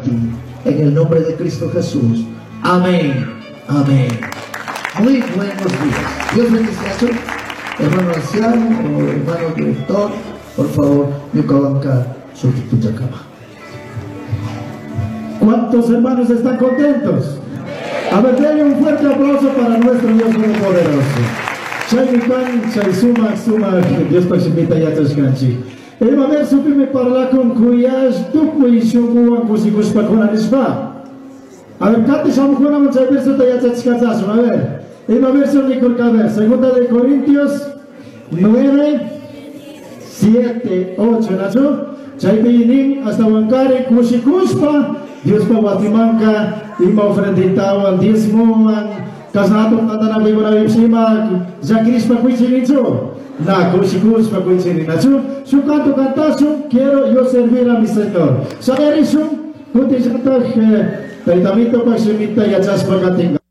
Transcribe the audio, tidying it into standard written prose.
para ti. En el nombre de Cristo Jesús. Amén. Amén. Muy buenos días. Dios bendice a su hermano anciano o hermano director. Por favor, ñukawanka cama. ¿Cuántos hermanos están contentos? A ver, denle un fuerte aplauso para nuestro Dios Todopoderoso. Chaymi kan, chay sumak, sumak, Diospa shimita yachashkanchik. Ima versopimi parlakun kuyash tukuy shunkuwan kushikushpa kuna nishpa. A ver, kati shamukunaman chay versota yachachishkachasun. A ver, ima verso nikurka, a ver, segunda de Corintios 9, 7, 8, ¿nachu? Chaypi nin hasta wankari kushikushpa Diospa wasimanka ima ofrenditawan diezmowan kasna hatun tantanakuykunapipish ima llakirishpa kuychinichu na kushikushpa kuychini nachu shuk canto cantashun quiero yo servir a mi Señor. Shayarishun kutillataj taytamitopak shimita yachashpa katinka.